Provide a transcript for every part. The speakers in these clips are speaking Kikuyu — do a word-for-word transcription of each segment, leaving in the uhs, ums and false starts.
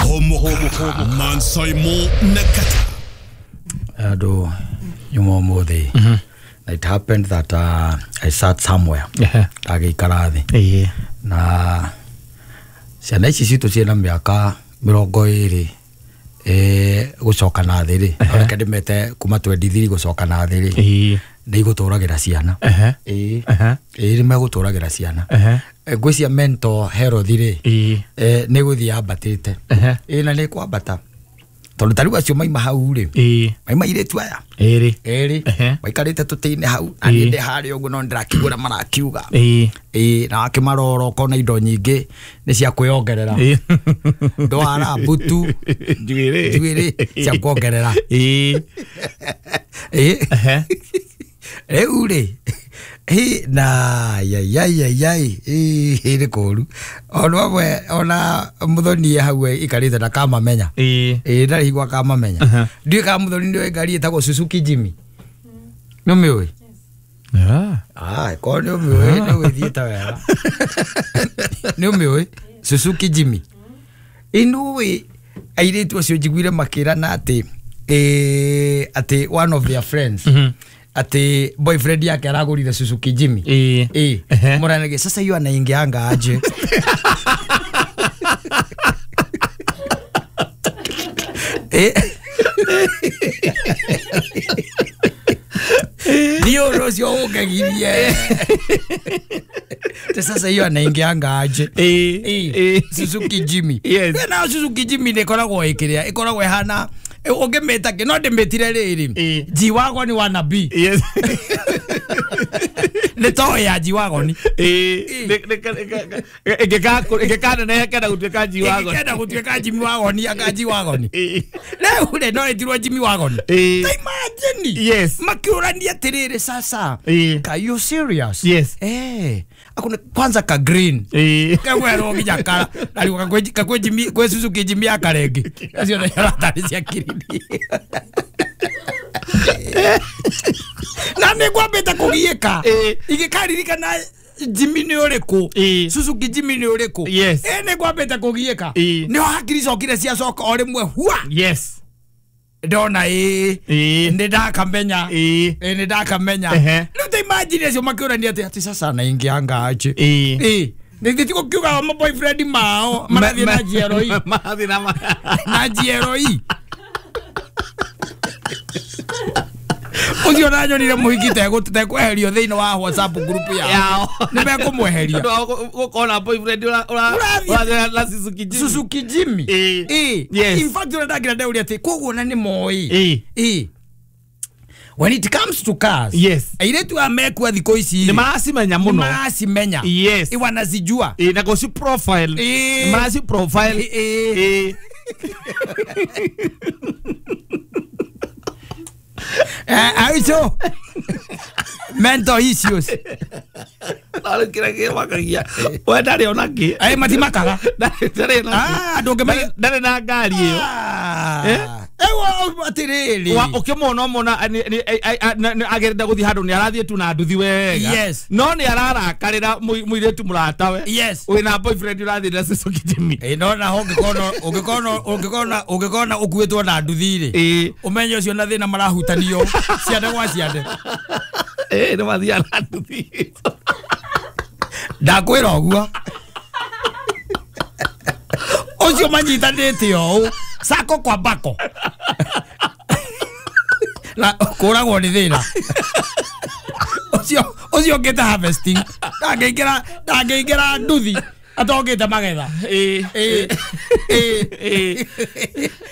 Homoka Mansaimo Nakata Ado nyuma mothe. It happened that uh, I sat somewhere. Ndagĩikara thĩ. Na ciana ici citũ ciĩna mĩaka mĩrongo ĩrĩ eh gũcoka na thĩ rĩ. Reke ndĩmete kuma twenty-three gũcoka na thĩ rĩ. Nĩ igũtũragĩra ciana. Ĩĩ. Ĩĩ nĩ megũtũragĩra ciana. Ngwĩcia mental health rĩ. Eh nĩ gũthiĩ yambatĩte. Ĩĩ na nĩ kwambata. Tondũ ta rĩu acio maima hau rĩ. Maima airĩtu aya. Ĩrĩ. Ĩrĩ. Maikarĩte tũtĩ-inĩ hau. Na niĩ ndĩ harĩa ũguo no ndĩrakĩigua ũrĩa marakiuga. Ĩĩ na wakĩmarora ũkona indo nyingĩ nĩ cia kwĩongerera. Ndwara mbutu. Njuĩrĩ. Njuĩrĩ cia kuongerera. Ĩĩ. Ĩĩ. Rĩu rĩ. Hĩ na yai yai yai yai ĩ nĩ kũũru. Ona amwe ona Muthoni hau ikarĩte na kamamenya. Ĩĩ ndarĩ hingo akamamenya. Ndiũĩ kana Muthoni nĩoĩ ngari ĩtagwo Suzuki Jimny. Nĩ ũmĩũĩ? Ah, korwo nĩ ũmĩũĩ nĩ ũgĩthiĩte wega. Nĩ ũmĩũĩ Suzuki Jimny. Ĩ nĩũĩ airĩtu acio njiguire makĩrana atĩ atĩ one of their friends ati boyfriend yake aragurire Suzuki Jimny. Eh. Eh. Muranage sasa hiyo anaingianga aje. Eh. Ndio rosio ukagirie. Sasa hiyo anaingianga aje. Eh. Eh. Suzuki Jimny. Yes. Na Suzuki Jimny ne koragwo ikiria ikoragwo ihana ũngĩmĩta kĩ no ndĩmĩtire rĩrĩ G-Wagon wana B. Yes. Nĩ toy ya G-Wagon. Ĩngĩkaneneha ĩkenda gũtuĩka G-Wagon. Ĩngĩkenda gũtuĩka Jimmy Wagon anga G-Wagon. Rĩu rĩ no ĩtirwo Jimmy Wagon. Ta imagine. Yes. Makĩũrania atĩrĩrĩ sasa. Ka you serious? Yes. Eh. Akuna kwanza ka green. Kagwerwo nginya kara. Na rĩu kakwĩ Jimmy kwĩ Suzuki Jimmy ya karengi. Acio nĩ aratarĩ cia kirindi. Na nĩ ngwambĩte kũgiĩka ingĩkaririkana Jimmy nĩ ũrĩkũ Suzuki Jimny nĩ ũrĩkũ. Yes. Ĩ nĩ ngwambĩte kũgiĩka nĩho hakiri cokire ciacoka o rĩmwe hua. Yes. Ndona ĩ nĩ ndakamenya ĩ nĩ ndakamenya. Rĩu ta imagine acio makĩũrania atĩ atĩ sasa anaingianga aje. Ĩ nĩ ti gũkiuga ma boyfriend mao marathiĩ na G L E. Marathiĩ na G L E. Ũcio nanyonire mũhiki tekweherio thĩinĩ wa WhatsApp group yao. Nĩ mekũmweheria. Ũkona boyfriend ũrathiĩ na Suzuki Jimny. Suzuki Jimny. Ĩ. In fact ũrĩa ndakĩra ndeuria atĩ koguo na nĩ moĩ. Ĩ. When it comes to cars, yes. Airĩtu a mekua thikũ ici nĩ maracimenya mũno. Nĩ maracimenya. Yes. Wanazijua. Ĩ na gũci profile. Nĩ maraci profile. Ĩ. Eh, aicio mental issues. Ndarĩ kĩrĩa kĩmakagia. We ndarĩ ona kĩ. Eh, matimakaga. Ndarĩ na. Ah, ndũngĩmenya ndarĩ na ngari ĩyo. Eh? Ewa atĩrĩrĩ. Wa ũkĩmuona ũmona agĩrenda gũthiĩ handũ nĩ arathiĩ tu na nduthi wega. Yes. No nĩ ararakarĩra mũirĩtu mũratawe. Yes. Wĩna boyfriend ũrathiĩ na Suzuki Jimny. Ĩ no naho ũngĩkona ũngĩkona ũngĩkona ũngĩkona ũkuĩtwo na nduthi rĩ. Ũmenye ũcio na thĩna marahutanio ciande gwa ciande. Ĩ nĩ mathiaga na nduthi. Ndakwĩra ũguo. Ũcio manyitanĩte ũũ. Sako kwa bako. Na kũragwo nĩ thĩna. Ũcio ũcio ũngĩte harvesting. Ndangĩingĩra ndangĩingĩra nduthi atongĩte magetha. Ĩ ĩ ĩ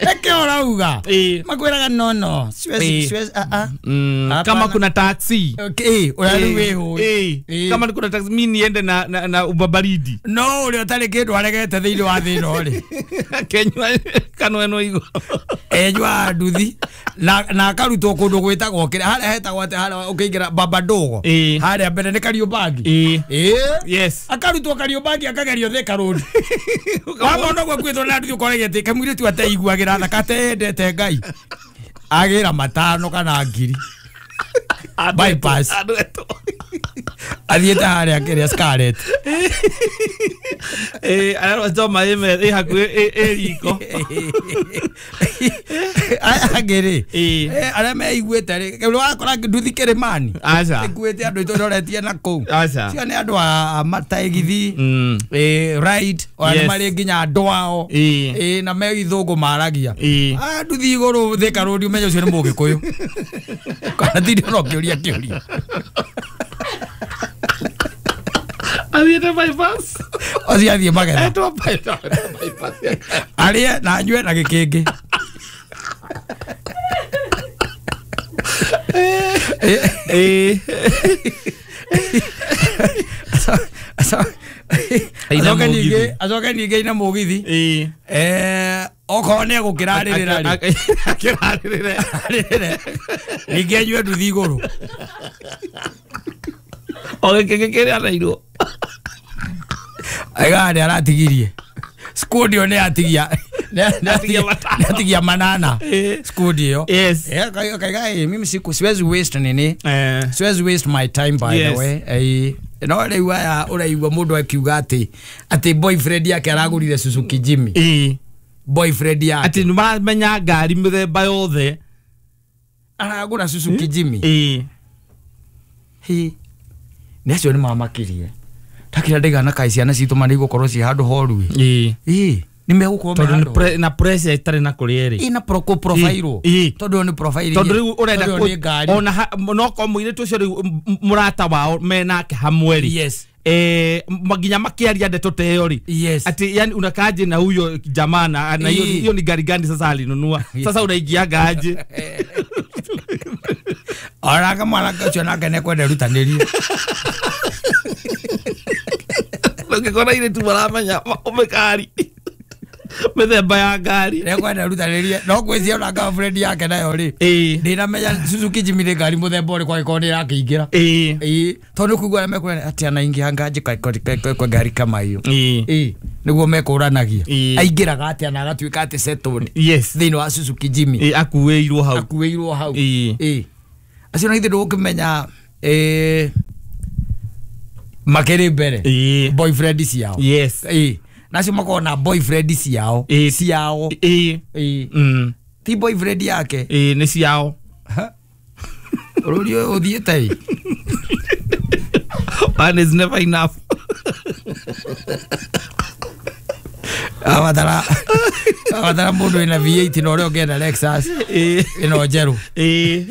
eke ũrauga. Makwĩraga no no. Siwezi siwezi a a. Kama kuna taxi. Okay, ũrĩa rĩu wĩhũĩ. Ĩ kama kuna taxi mimi niende na na, na ubabaridi. No ũrĩa ũtarĩ kĩndũ aregete thĩinĩ wa thĩ ĩno rĩ. Kenywa kanweno igo. Enywa nduthi na na akarutwo kũndũ gwĩtagwo kĩrĩa harĩa hetagwo atĩ harĩa ũkĩingĩra Baba Ndogo. Harĩa mbere nĩ Kariũmbangi. Ĩ. Yes. Akarutwo Kariũmbangi akagerio Thika Road. Wamona ũguo akuĩtwo na nduthi ũkoragia atĩ kamũirĩtu ateiguagĩra tha kateendete Ngai. Agĩra matano kana ngiri. Bypass athiĩte harĩa kĩrĩa Scarlet eh ararwa choma ĩ ĩ hakuhĩ ĩ riko aya angĩ rĩ arĩa meiguĩte rĩ wakora nduthi kĩrĩmani ĩkuĩte andũ ĩtũroretie na kũu cio nĩ andũ a mataĩgithi ride ona nĩ marĩ nginya andũ ao na me ithũngũ maragia nduthi igũrũ Thika Road ũmenye ũcio nĩ mũgĩkũyũ kana tindi ona ũkĩũria kĩũria athiĩte bypass ũcio athiĩ magetha etwo bypass arĩe na anyue na gĩkĩngĩ eh acoke ningĩ acoke ningĩ ina mũgithi eh okorwo nĩ egũkĩrarĩrĩra rĩ akĩrarĩrĩre ningĩ anyue nduthi igũrũ o gĩkĩngĩ kĩrĩa anairwo aiga nĩ aratigirie skundi ĩyo nĩ atigia nĩ atigia manana skundi ĩyo yes kaiga mimi siku siwezi waste nini siwezi waste my time by the way eh no rĩu aya ũraigua mũndũ akiuga atĩ atĩ boyfriend yake aragũrire Suzuki Jimny eh boyfriend yake atĩ nĩmaramenya ngari mĩthemba yothe aragũra Suzuki Jimny eh hi nĩ acio nĩ mamakirie takira ndigana kai ciana citũ marĩ gũkorwo ci handũ horu ĩ ĩ nĩ megũkorwo me handũ na pressure itarĩ na kũrĩa ĩrĩ ina proko profile tondũ nĩ profile tondũ rĩu ũrenda ona no ko mũirĩtu ũcio rĩu mũrata wao menake hamwe rĩ yes eh nginya makiaria ndeto ta ĩyo rĩ yes ati yani unakaaje na huyo jamaa na na hiyo hiyo ni gari gani sasa alinunua sasa unaingiaga aje ara mwanake ũcio nake nĩekwenda rutanĩrie ũngĩkora airĩtu maramenya ũmĩkari mĩthemba ya ngari nĩekwenda rutanĩrie no ngwĩciria ona girlfriend yake nayo rĩ ndĩramenya Suzuki Jimny nĩ ngari mũthemba ũrĩkũ angĩkorwo nĩ ĩrakĩingĩra ĩĩ tondũ nĩ kũigua arĩa mekwĩra atĩ anaingianga aje kwa ngari kama hiyo ĩĩ nĩguo mekũranagia aingĩraga atĩa na agatuĩka atĩ settled yes thĩinĩ wa Suzuki Jimny ĩĩ akuĩirwo hau akuĩirwo hau ĩĩ acio na ithe ndũgũkĩmenya ĩĩ makĩrĩ mbere boyfriend ciao yes ĩĩ nacio makorwo na boyfriend ciao ciao ĩĩ ĩĩ ti boyfriend yake ĩĩ nĩ ciao rũri ũyũ ũthiĩte ĩ one is never enough abatara abatara mũndũ wĩna V eight na ũrĩa ũngĩenda Lexus ĩno njerũ ĩĩ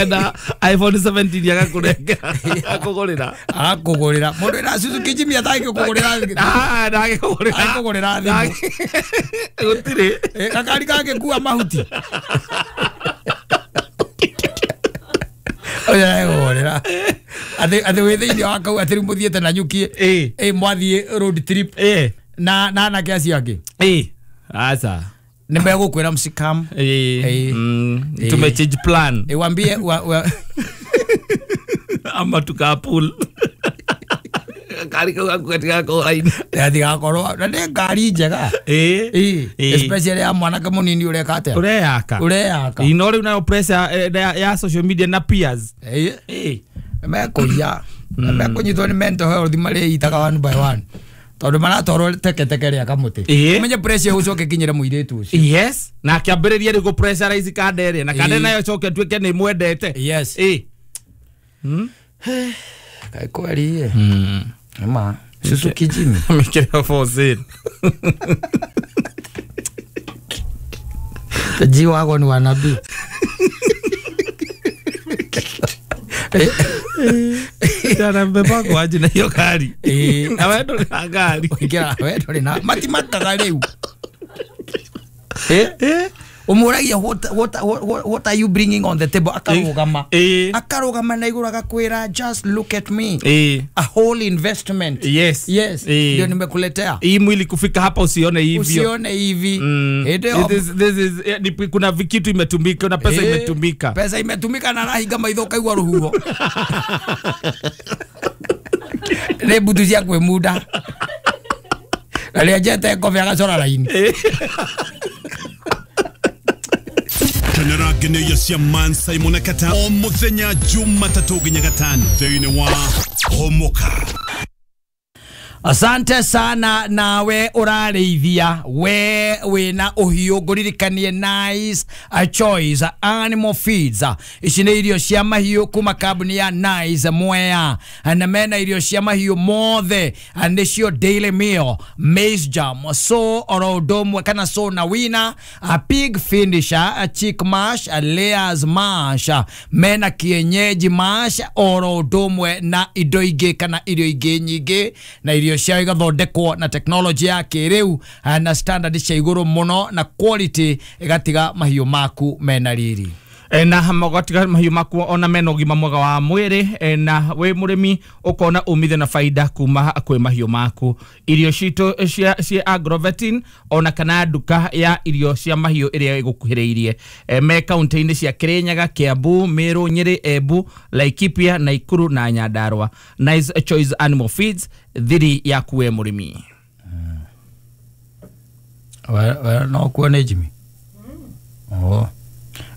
enda iPhone seventeen agakũnengera akũgũrĩra akũgũrĩra mũndũ wĩna Suzuki Jimny atangĩkũgũrĩra ah ndangĩkũgũrĩra angĩkũgũrĩra thimũ gũtirĩ gakari kangĩkua mahuti ũcio ndangĩkũgũrĩra atĩ atĩ wĩ thĩinĩ wa kau atĩ rĩu mũthiĩte na nyuki ĩ mwathiĩ road trip na na anake acio angĩ ĩ aca nĩ megũkwĩra msikam ĩ tume change plan ĩ wambie ama tukapool ngari kau gaku gatigakorwo raini gatigakorwo na nĩ ngari njega ĩ especially ya mwanake mũnini ũreka atĩa ũreyaka ũreyaka no rĩu nayo pressure ya social media na peers ĩ mekũiya mekũnyitwo nĩ mental health marĩitaga one by one tondũ maratwarwo teketeke rĩa kamũtĩ ũmenye pressure ũcoke kinyĩre mũirĩtu ũcio yes na akĩambĩrĩria rĩu gũ pressurize kanda ĩrĩa na kanda nayo ĩcoke ĩtuĩke nĩ ĩmwendete yes ĩ kaĩ kweri ĩ ma Suzuki Jimny mĩkĩre for sale G wagon wa nabii Jana mbeba kwa aje na hiyo gari na wewe ndũrĩ na ngari ũingĩra we ndũrĩ na matimakaga rĩu eh eh umuragia what what what are you bringing on the table akarugama akarugama na iguru agakwira just look at me eh. A whole investment. Yes, yes, ndio nimekuletea hii mwili kufika hapa usione hivyo, usione hivi. Mm. This, this is eh, kuna vikitu imetumika na pesa eh, imetumika, pesa imetumika na rahinga maitho kaigua ruhuho ne butu cia kwimuda na rĩanjete kobe agacora raini. Kenera ngeneia cia Man Simon Kata o muthenya Jumatatũ nginya gatano thĩinĩ wa Homoka. Asante sana nawe ũrarĩithia we wĩna ũhiũ ngũririkanie Nice a Choice Animal Feeds. Ici nĩ irio cia mahiũ kuma kambuni ya Nice Mwea, na mena irio cia mahiũ mothe nĩcio Daily Meal, Maize Jam, so oro ũndũ ũmwe kana so na wina, a pig finisher, a chick mash, a layers mash, mena kienyeji mash oro ũndũ ũmwe na indo ingĩ kana irio ingĩ nyingĩ, na irio cia igathondekwo na technology ya kĩrĩu na standard cia igũrũ mũno na quality igatiga mahiũ maku mena riri na magatiga mahiũ maku ona mena ũgima mwega wa mwĩrĩ, na wĩ mũrĩmi ũkona umithio na faida kuma kwĩ mahiũ maku. Irio citũ cia cia Agrovetin ona kana nduka ya irio cia mahiũ ĩrĩa ĩgũkuhĩrĩirie me kaunti-inĩ cia Kirinyaga, Kiambu, Meru, Nyeri, Embu, Laikipia, Nakuru na Nyandarua. Nice Choice Animal Feeds thiri yaku we mũrĩmi. We no kuone Jimmy. Oh.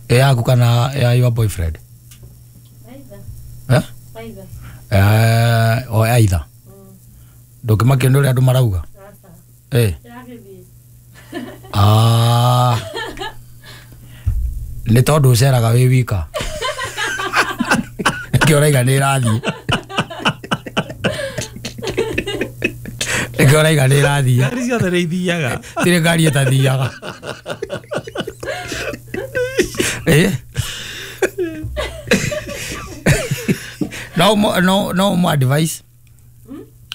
Yaku kana ya your boyfriend? Either. Eh? Either. Eh, o either. Ndũngĩmakio nĩ ũrĩa andũ marauga? Eh. Ah. Nĩ tondũ ũceraga wĩ wika. Nĩkĩo ũraiga nĩ ĩrathiĩ. Nĩkĩo ũraiga nĩ ĩrathiĩ. Ngari ciothe nĩ ithiaga. Tirĩ ngari ĩtathiaga. Eh? No no no mo advice.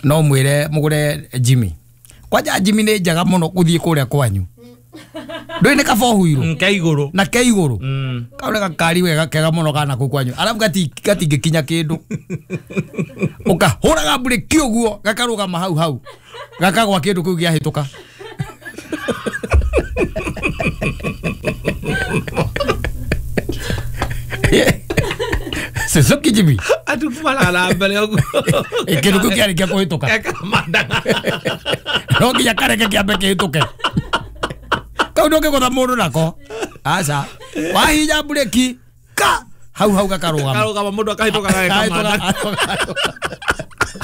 No mwire mugure Jimmy. Kwanja Jimmy nĩ njega mũno gũthiĩ kũrĩa kwanyu. Ndũĩ nĩ kaba ũhuirũ. Ke igũrũ. Na ke igũrũ. Kau nĩ gakari wega kega mũno kana kũu kwanyu. Arabu gatingĩkinya kĩndũ. Ũkahũraga mburĩki ũguo gakarũgama hau hau. Gakagwa kĩndũ kĩu gĩahĩtũka. Suzuki Jimmy. Atu kumala na mbere ũguo. Kĩndũ kĩu kĩarĩkia kũhĩtũka. No nginya kareke kĩambe kĩhĩtũke. Kau ndũngĩgũtha mũndũ nako. Aca. Wahinya mburĩki ka hau hau gakarũgama. Karũgama mũndũ akahĩtũka gageka.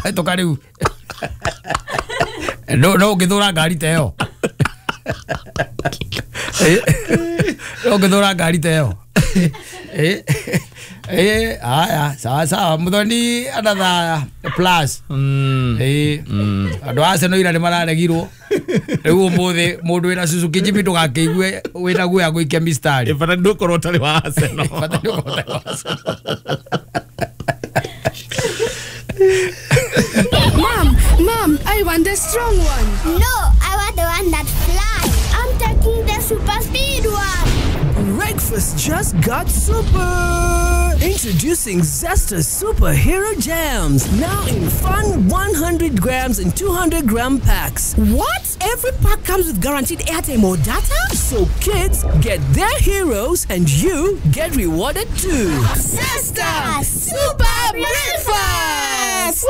Hĩtũka rĩu. No no ũngĩthũra ngari ta ĩyo. No ũngĩthũra ngari ta ĩyo. Eh eh aya sawa sawa muthoni another plus. Eh andũ a Arsenal ira nĩ mararegirwo rĩu ũmũthĩ mũndũ wĩna Suzuki Jimmy ndũgakĩigue wĩna guoya gũikia mistari. Bata ndũkorwo ũtarĩ wa Arsenal. Bata ndũkorwo ũtarĩ wa Arsenal. Mom, Mom, I want the strong one. No, I want the one that flies. I'm taking the super speed one. Breakfast just got super! Introducing Zesta Superhero Jams, now in fun one hundred grams and two hundred gram packs. What? Every pack comes with guaranteed airtime or data? So kids get their heroes and you get rewarded too. Zesta Super Breakfast!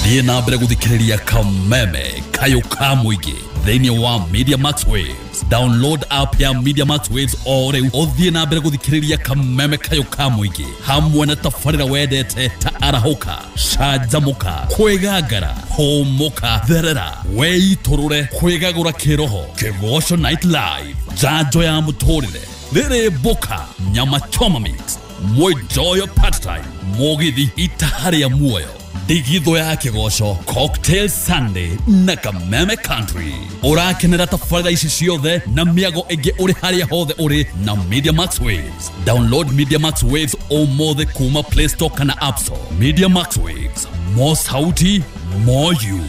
Thiĩ na mbere gũthikĩrĩria Kameme Kayũ ka mũingĩ thĩinĩ wa Media Max Waves. Download app ya Media Max Waves o rĩu ũthiĩ na mbere gũthikĩrĩria Kameme Kayũ ka mũingĩ hamwe na tabarĩra wendete ta arahũka, canjamũka, kwĩgangara, hũmũka, therera, weitũrũre, kwĩgagũra kĩroho, Kĩgoco Night Live, njanjo ya mũtũrĩre, rĩrĩ mboka, nyama choma mix, mwenjoyo part time, mũgithi itaharĩa muoyo, Ndigitho ya Kĩgoco, Cocktail Sunday na Kameme Country. Ũrakenera tabarĩra ici ciothe na mĩago ĩngĩ ũrĩ harĩa hothe ũrĩ na Media Max Waves. Download Media Max Waves ũmũthĩ kuma Play Store kana App Store. Media Max Waves, more sauti, more you.